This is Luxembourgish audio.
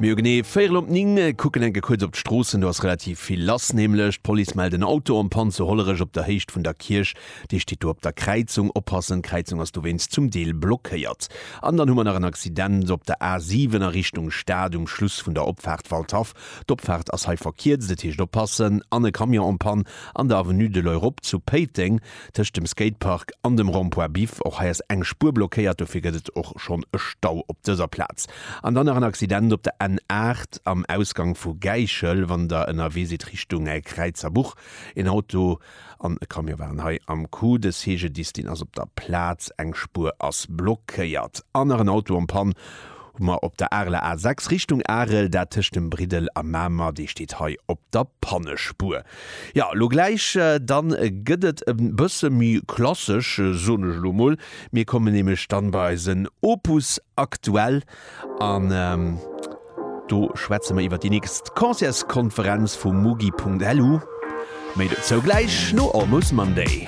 Mir hu genee véierel op 9, kucken enke kuerz op d'Stroossen. Do ass relativ vill lass, nämlech d'Police mellt en Auto en panne zu Hollerech op der Héicht vun der Kierch. Dee steet do op der Kräizung. Oppassen, d'Kräizung ass dowéinst zum Deel blockéiert. An dann hu mer nach en Accident op der A7 a Richtung Stad um Schluss vun der Opfaart Waldhaff. D'Opfaart ass hei verkierzt, et heescht oppassen. An e Camion en panne an der Avenue de l'Europe zu Péiteng. Tëscht dem Skatepark an dem Rond-point Biff. Och hei ass eng Spuer blockéiert, dofir gëtt et och schonn e Stau op dëser Plaz. An dann nach en Accident op der N8 am Ausgang vu Gäichel, wann der ënnerwee sidd Richtung Kräizerbuch. En Auto an e Camion waren hei am Coup. De CGDIS deen ass op der Plaz, eng Spuer ass blockéiert. An nach en Auto en panne hu mer op der Areler A6 Richtung Arel, dat tëscht dem Briddel a Mamer, dee steet hei op der Pannespuer. Jo, elo gläich dann gëtt et e bësse méi klassesch, soen ech elo mol. Mir kommen nämlech dann bei eisen Opus Aktuell an do schwätze mer iwwer déi nächst Concertskonferenz vu Mugi.lu. Méi dozou gläich no Almost Monday.